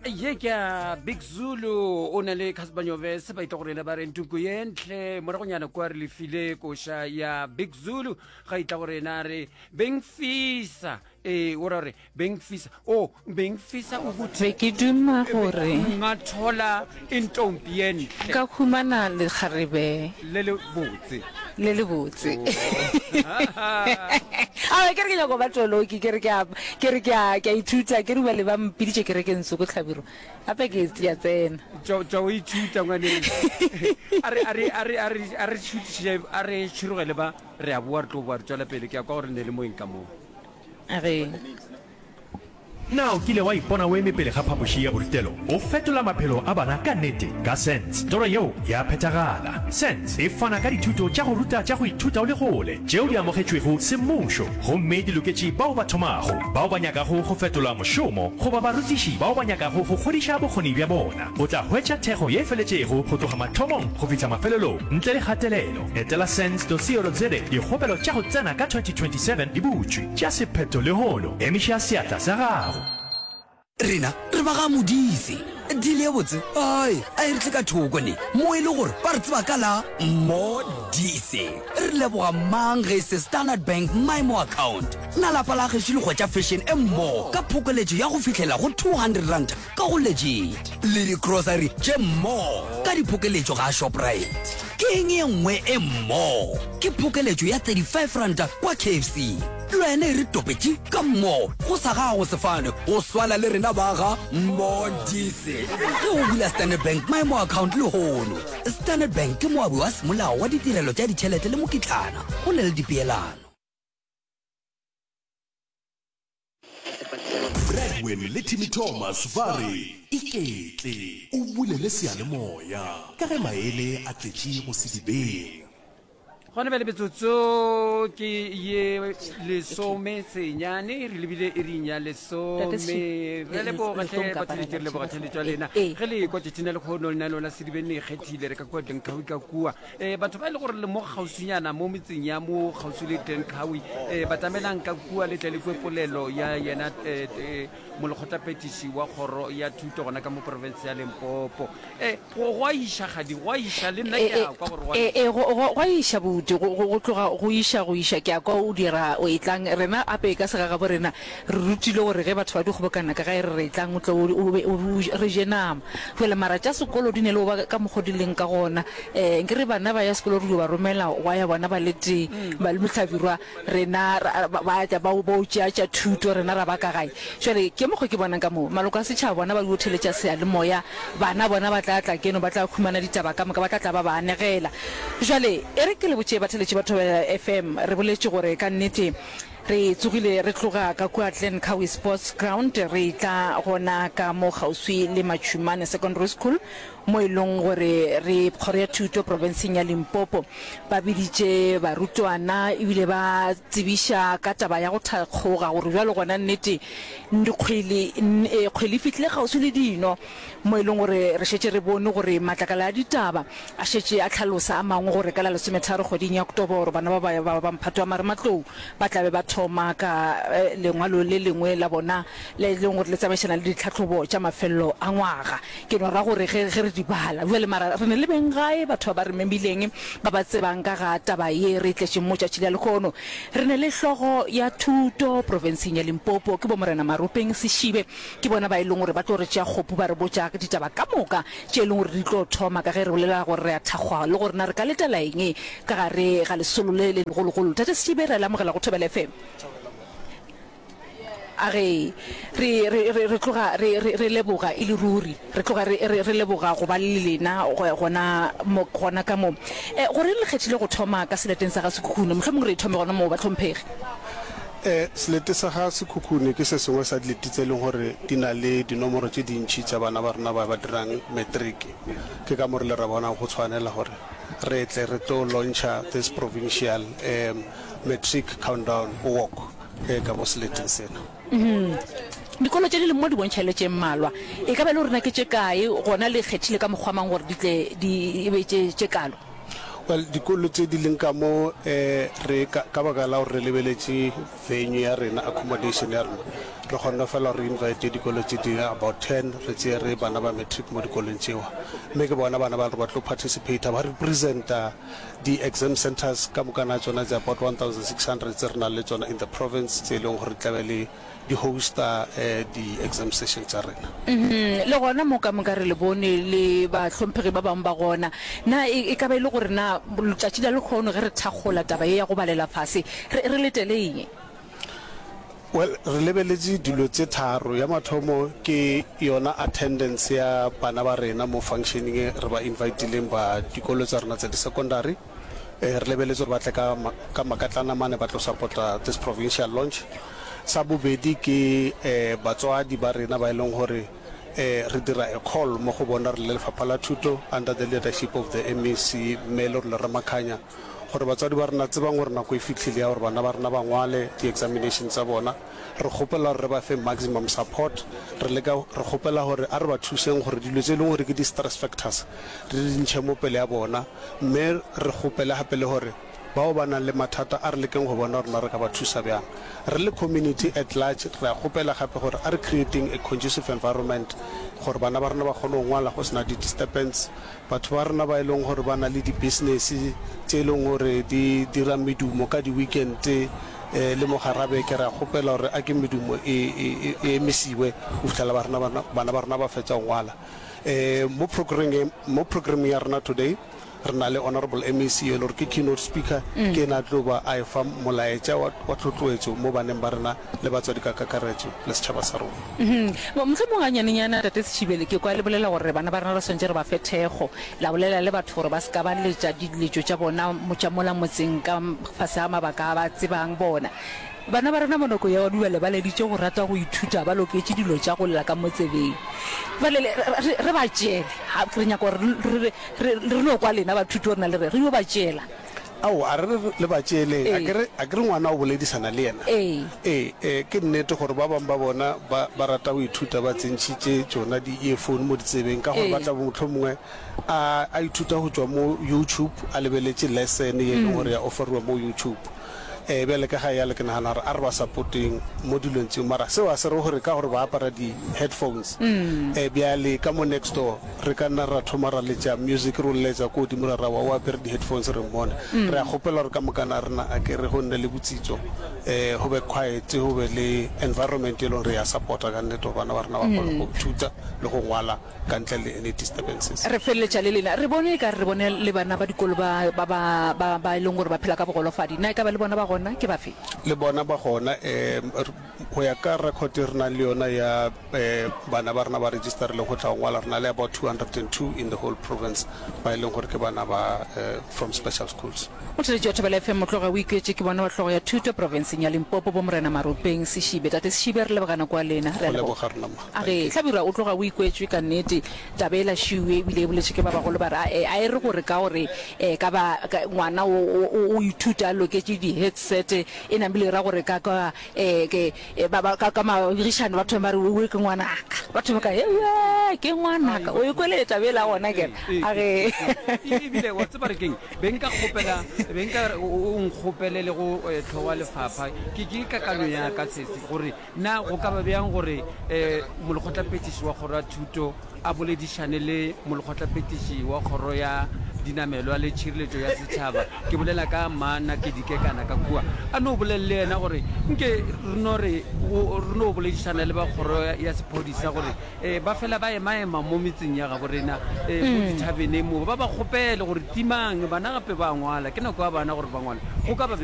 Ye ke ya Big Zulu o na le Cassper Nyovest ba itla go rena ba re ntuku ye ntle moragonyana kwa re lefile koša ya Big Zulu ga itla go rena re bengfisa ee o ra gore bengfisa o bengfisa ukuthi Be ke duma gore. Ngathola intombi ye ntle. Ka humana lekgarebe. Le le botse. Le le botse. Aowa, ke re ke nyaka go ba toloki, ke re ke a, ke re ke a, ke a ithuta, ke re bjale ba mpiditše kerekeng tsoko Hlabirwa, gape ke, ke a tsena. Tšwa, tšwa o ithuta ngwanešu. A re, a re, a re, a re, a re šutiše, a re tšhirogele ba, re a boa, re tlo boa re tšwela pele, ke a kwa gore ne le moeng ka moo. A re. Na o kile wa ipona o eme pele ga phapoši ya borutelo o fetola maphelo a bana ka nnete? Ka SENS, toro yeo ya phethagala. SENS e fana ka dithuto tša go ruta tša go ithuta o le kgole tšeo di amogetšwego semmušo gomme di loketše bao ba thomago, bao ba nyakago go fetola mošomo goba barutiši bao ba nyakago go godiša bokgoni bja bona. O tla hwetša thekgo ye feletšego go tloga mathomong go fihla mafelelong ntle le kgatelelo. Etela sens.co.za Dikgopelo tša go tsena ka 2027 di butšwe. Tšea sephetho lehono. Emiša seatla sa gago. Rena re ba ga Modise. Deal ye botse ai a e re tle ka thoko ne mo e le gore ba re tseba ka la Modise. Re leboga mang ge e se Standard Bank MyMo Account. Na lapa la gešo le hwetša fashion e mmo ka phokoletšo ya go fihlela go R200 ka go Legit le di-grocery tše mmo ka diphokeletšo ga Shoprite. Ke eng ye nngwe e mmo? Ke phokeletšo ya R35 kwa KFC. Le wena e re topetše ka mmo go sa gago sefane go swana le rena ba ga Modise. Ge o bula Standard Bank MyMo account lehono. Standard Bank ke moabi wa semolao wa ditirelo tša ditšhelete le mokitlana go na le dipeelano. Bradwin le Timmy Thomas ba re, Iketle o bulele seyalemoya ka ge maele a tletše go sedibeng. Gona bjale metsotso ke ye lesome senyane re lebile iring ya lesome. Re leboga hle batheletši, re leboga theletšo ya lena. Ge le ekwa tšatšing la lekgono lenaneo la Sedibeng le ikgethile, re ka kua Glencoe ka kua. Um batho ba e le gore le mo kgauswinyana mo metseng ya mo kgauswi le Glencoe, um batamelang ka kua le tle le kwe polelo ya yena um molekgotlaphethiši wa kgoro ya thuto gona ka mo profense ya Limpopo. E, go, go a iša, kgadi, go a iša, le nna ke a kwa gore go a E, iša. e, go, go, go a iša, buti, go, go, go tloga go iša, go iša, ke a kwa o dira, o etlang. Rena gape ka segagabo rena re rutilwe gore ge batho ba di kgobokana ka gae re re etlang o tle o, o be, o, o, re je nama. Bjale mara tša sekolo di ne le go ba ka mokgo di leng ka gona. E, nkere bana ba ya sekolo re dio ba romela gwa ya bona ba le tee, ba le mohlabirwa, Rena ra, ba, ba tla ba, ba o tšea tša thuto, rena ra ba ka gae. Bjale, ke mokgo ke bonang ka moo. Maloko a setšhaba bona ba yo theletša seyalemoya, bana bona ba tla tla keno, ba tla humana ditaba ka moka, ba tla tla ba ba anegela. Bjale, e re ke le botše batheletši ba Thobela FM, re boletše gore ka nnete re tsogile re tloga ka kua Glen Cowie Sports Ground re etla gona ka mo kgauswi le Matšhumane Secondary School, mo e leng gore re Kgoro ya Thuto profenseng ya Limpopo ba biditše barutwana ebile ba tsebiša ka taba ya go thakgoga gore bjalo gona nnete dikgwele kgwele e fihlile kgauswi le dino mo e leng gore re šetše re bone gore matlakala a ditaba a šetše a hlalosa a mangwe gore ka la lesometharo kgweding ya Oktoboro bana ba ba ba mphato wa marematlou ba tla be ba thoma ka lengwalo le lengwe la bona le e leng gore le tsamaišana le ditlhahlobo tša mafelelo a ngwaga. Ke no ra gore ge, ge re di bala bjale, mara re ne le beng gae, batho ba ba re memileng, ba ba tsebang ka ga taba ye re e tletšeng mo tšatši la lehono. Re ne le hlogo ya thuto profenseng ya Limpopo, ke bo Morena Maropeng Seshibe, ke bona ba e leng gore ba tlo re tšea kgopu ba re botša ditaba ka moka tše e leng gore di tlo thoma, ka ge re bolela gore re a thakgwa le gore na re ka letela eng ka gare ga lesolo le le legologolo. Tate Seshibe, re a le amogela go Thobela FM. A re, Re, re, re, re tloga re, re, re leboga e le ruri. Re tloga re, re, re leboga go ba le lena gona mo, gona ka mo. E, goreng le kgethile go thoma ka seleteng sa ga Sekhukhune? Mohlomongwe re e thome gona moo, bahlomphegi. E, selete sa ga Sekhukhune ke se sengwe sa dilete tse e leng gore di na le dinomoro tše dintši tša bana ba rena ba ba dirang matric. Ke ka mo re ile ra bona go tshwanela gore re tle re tlo launcha this provincial um matric countdown walk. Ge ka mo seleteng sena. Dikolo tše di leng mo di bontšha e le tše mmalwa. E ka ba e le gore na ke tše kae, gona le kgethile ka mokgwa mang gore di tle di e be tše tše kalo? Well, dikolo tše di leng ka mo re ka, ka baka la gore re lebeletše venue ya rena, accommodation ya rena, Re kgonne fela gore re invite dikolo tše di about ten, re tšere bana ba matric mo dikolong tšewa. Mme ke bona bana ba re ba tlo participata, ba representa di-exam centres ka mokana tšona tše about 1600 tse re nang le tšona in the province, tše e leng gore di tla be le di hosta di-exam session tša rena. Le gona mo ka moka re le bone le bahlomphegi ba bangwe ba gona. Na e, e ka ba e le gore na letšatši la lekgono ge re thakgola taba ye ya go balela fase, re, re letele eng? Well, re lebeletše dilo tše tharo. Ya mathomo ke yona attendance ya bana ba rena mo functioning e re ba invitileng ba dikolo tša rena tša di-secondary. Re lebeletše gore ba tle ka, ka makatlana mane ba tlo support-a this provincial launch. Sa bobedi ke batswadi ba rena ba e leng gore re dira a call mo go bona re le Lefapha la Thuto under the leadership of the MEC Mme Lerole Ramakhanya gore batswadi ba rena tsebang gore nako e fihlile ya gore bana ba rena ba ngwale di-examination tsa bona. Re kgopela gore re ba fe maximum support. Re leka, re kgopela gore a re ba thuseng gore dilo tse e leng gore ke di-stress factors re di ntšhe mo pele ya bona mme re kgopele gape le gore Bao ba nang le mathata a re lekeng go bona gore na re ka ba thusa bjang. Re le community at large re a kgopela gape gore a re createng a conducive environment gore bana ba rena ba kgone go ngwala go se na di disturbance. Batho ba rena ba e leng gore ba na le di business tše e leng gore di dira medumo ka di weekend le mo gara beke re a kgopela gore a ke medumo e e emisiwe go fihlela ba rena bana ba rena ba fetša go ngwala. Mo programmeng ya rena today Re na le Honourable MEC yo e le gore ke keynote speaker, ke ena a tlo ba a efa molaetša wa, wa tlhotloetšo mo baneng ba rena le batswadi ka kakaretšo le setšhaba sa rona. Mohlomong ganyanenyana, Tate Setšhibele, ke kwa le bolela gore bana ba rena re swanetše re ba fe thekgo. La bolela le batho gore ba se ka ba letša diletšo tša bona tša mola motseng ka fase ga mabaka a ba tsebang bona. Bana ba rena mo nako ya bjale ba leditše go rata go ithuta, ba loketše dilo tša go lla ka mo tsebeng. Bjale re, re, re ba tšeele. Ga, re nyaka gore re, re, re, re no kwa lena bathuti gore na le re, re yo ba tšeela. Aowa, a re re le ba tšeeleng. A ke re, a ke re ngwana o boledisana le yena? Ee. Ee, ee, ke nnete gore ba bangwe ba bona ba, ba rata go ithuta ba tsentšhitše tšona di-earphone mo ditsebeng ka gore ba tla bo mohlomongwe a, a ithuta go tšwa mo YouTube, a lebeletše lesson ye e leng gore ya offeriwa mo YouTube. Ee, bjale ka ga yale ke nagana gore a re ba supporteng mo dilong tšeo, mara seo a se re gore ka gore ba apara di headphones, ee bjale ka mo next door re ka nna ra thoma ra letša music re o lletša ko godimo ra ra wa o apere di headphones re mmone. Re a kgopela gore ka mokana rena a ke re go nne le botsitso, ee go be quiet, go be le environment e leng gore ya supporta ka nnete gore bana ba rena ba kgone go ithuta le go ngwala. ka ntle le any disturbances. Re feleletša le lena. Re bone e ka re re bone le bana ba dikolo ba, ba, ba, ba, ba e leng gore ba phela ka bogolofadi. Na e ka ba le bona ba gona? Ke bafe? Le bona ba gona. Um, go ya ka record e re nang le yona ya um bana ba rena ba registerileng go tla go ngwala, re na le about 202 in the whole province ba e leng gore ke bana ba um from special schools. Motheeletši wa Thobela FM, Motloga o ikwetše ke bona wa hlogo ya thuto profenseng ya Limpopo, bo Morena Maropeng Seshibe. Tate Seshibe, re leboga nako ya lena. Re a Go leboga. leboga rena ma. A re, Hlabirwa o tloga o ikwetšwe ka nnete. Taba e lašiwe ebile e boletše ke ba bagolo ba re a, a e re gore ka gore e ka ba ka, ngwana o, o, o ithuta a loketše di-headset e namile e ra gore ka, ka, e, ke, e, ba, ba, ka, ka mabegišano ba thome ba re owe ke ngwanaka. Ba thome ka ewe ke ngwanaka. O e kwele taba ela gona ke re, a re. Ebile wa tseba re keng, be nka kgopela, be nka re o, o nkgopele le go hlogo wa lefapha, ke, ke kakanyo ya ka sesi gore Na go ka ba bjang gore molekgotlaphethiši wa kgoro ya thuto a boledišane le molekgotlaphethiši wa kgoro ya dinamelwa le tšhireletšo ya setšhaba, ke bolela ka Mma Nakedi Kekana ka kua, a no bolele le yena gore nke re no re re no boledišana le ba kgoro ya sephodisa gore ba fela ba emaema mo metseng ya gabo rena mo dithabeneng mo, ba ba kgopele gore timang bana gape ba ngwala, ke nako ya bana gore ba ngwale. Go ka ba.